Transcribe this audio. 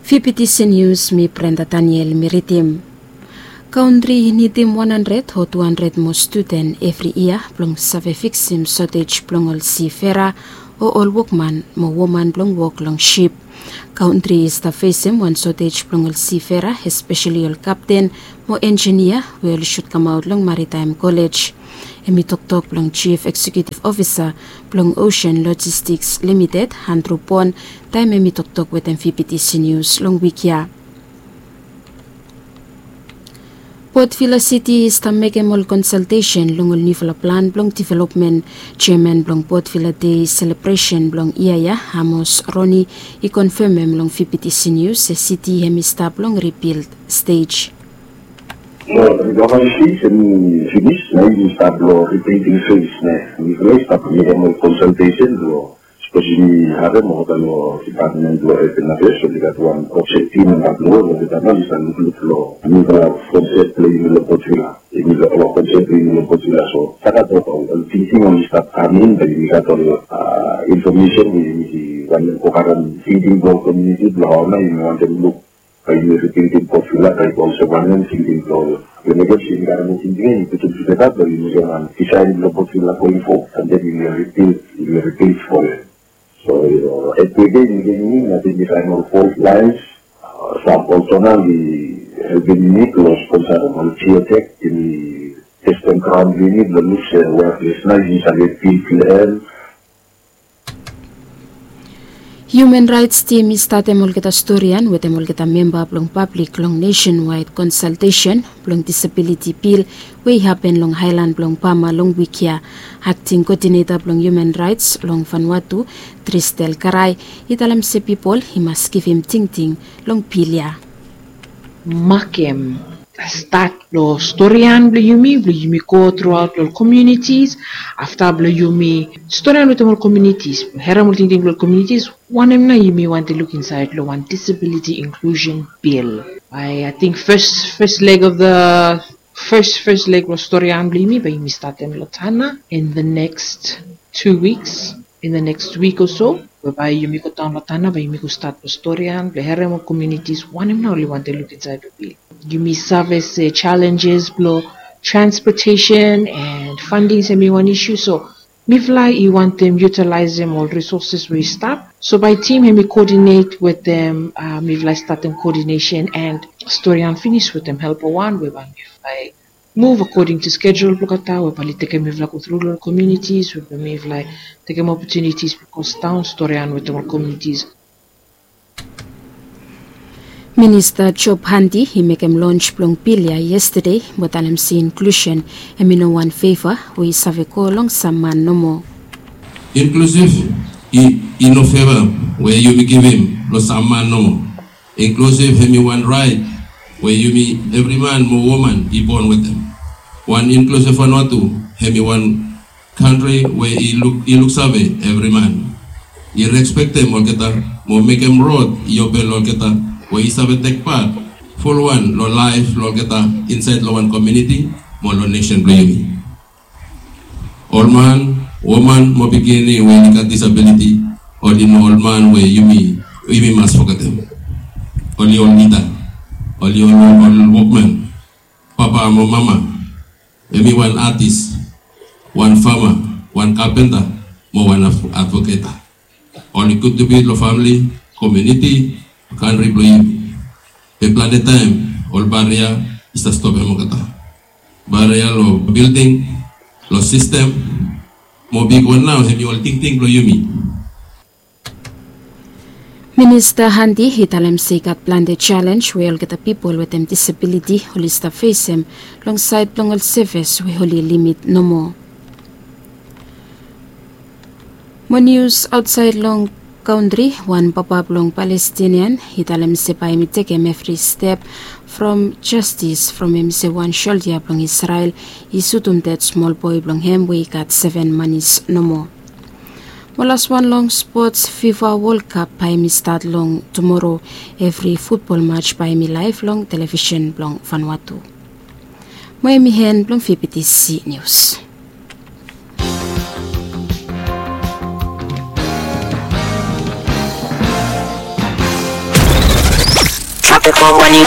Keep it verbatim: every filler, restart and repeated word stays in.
Fifty News, mi Brenda Daniel mi ridim. Kantri i nidim wan handred o tu handred moa studen evri yia blong save fiksim sotej blong ol sifera o ol wokman mo woman blong wok long sip. Kantri i stap fesem wan sotej blong ol sifera, espeseli ol kapten mo enjinia we oli sut kamaot long Maritaem Kolej. Hem i toktok blong Jif Eksekiutiv Ofisa blong Osean Lojistiks Limited, Andru Bon, taem hem i toktok wetem Fifty News long wik ya. Port Vila Siti i stap mekem ol konsaltesen long ol niufala plan blong developmen. Jeaman blong Port Vila Dei selebresen blong yia ya, Amos Roni, i konfemem long Fifty News se siti hem i stap long ribild stej. Long ribild stej hem i finis, nao i stap long ribilding fes, nao mifala i stap mekem ol konsaltesen blong Sapos yumi harem olgeta long dipatmen blong Urban Affairs, oli gat wan konsep tim antap long ol, olgeta nao oli stap lukluk long niufala konsep blong yumi long Port Vila. Yumi long, ol konsep blong yumi long Port Vila. So, stap gat ol, ol tingting oli stap kam in, bae yumi gat ol, a, infomesen we yumi wantem go karem tingting blong komuniti blong hao nao yumi wantem luk bae yumi ribildim Port Vila bae i go olsem wanem, tingting blong ol. Yumi mekem se yumi karem ol tingting ya, yumi putum tugeta blong yumi mekem wan disaen blong Port Vila going forward, and then yumi ribild, yumi ribild from it. So, yu no, everyday yumi, yumi, yumi, nating disaen ol fault lines, a, sam ol tonal i helpem yumi blong sponsa ol geotech, yumi testem graon blong yumi blong luk se we ples nao yumi save bild blong hem. Hiuman Raets Tim i statem olgeta storian wetem olgeta memba blong pablik long nesenwaed konsaltesen blong disabiliti bil we i hapen long aelan blong Pama long wik ya. Akting koodineta blong Hiuman Raets long Vanuatu, Tristel Karai, i talem se pipol i mas givim tingting long bil ya. Makem stat blong storian blong yumi, blong yumi go truaot long komunitis. Afta blong yumi storian wetem ol komunitis, harem ol tingting blong ol komunitis, wanem nao yumi wantem luk insaed long wan disabiliti inklusen bil. Bae, ating fes, fes leg of the, fes, fes leg blong storian blong yumi bae yumi statem long Tanna in the next two weeks. In the next week or so, we bae yumi go daon long Tanna, bae yumi go stat blong storian, blong harem ol komunitis wanem nao oli wantem luk insaed long bil. Yumi save se jalenjes blong transpotesen and fanding hemi wan isu, so mifala i wantem yutalaesem ol risoses we i stap. So bae tim hemi koodinet wetem, a, mifala i statem koodinesen and storian finis wetem helpa wan we bae mifala i muv akoding tu skejul blong olgeta we bae oli tekem mifala go tru long ol komunitis, we bae mifala tekem opotunitis blong go daon storian wetem ol komunitis. Minista Job Handi i mekem lons blong bil ya yestade, mo talem se inklusen hemi no wan feva we i save go long sam man nomo. Inklusiv i, i no feva we yumi givim long sam man nomo. Inklusiv hemi wan raet we yumi evri man mo woman i bon wetem. Wan inklusiv Vanuatu hemi wan kantri we i luk, i luksave evri man. I respektem olgeta mo mekem rod i open long olgeta we i save tek pat fulwan long laef blong olgeta insaed long wan komuniti mo long nesen blong yumi. Ol man, woman mo pikinini we i gat disabiliti, oli no ol man we yumi, yumi mas fogetem. Oli ol lida, oli ol, ol wokman, papa mo mama, hemi wan atis, wan fama, wan kapenta mo wan advoketa. Oli kontribut long famle, komuniti, kantri blong yumi. Be plante taem ol baria i stap stopem olgeta. Baria long bilding, long sistem, mo bigwan nao hemi ol tingting blong yumi. Minista Handi i talem se i gat plante jalens we olgeta pipol wetem disabiliti oli stap fesem long saed blong ol sevis we oli limit nomo. Mo nius aotsaed long kantri, wan papa blong Palestinian i talem se bae hemi tekem evri step from jastis from hemi se wan soldia blong Isrel i sutum ded smol boe blong hem we i gat seven manis nomo. Mo laswan long spots, FIFA World Cup bae hemi stat long tumoro. Evri futbol maj bae hemi laev long televisen blong Vanuatu. Mo hemi en blong V P T C News. Te ko wani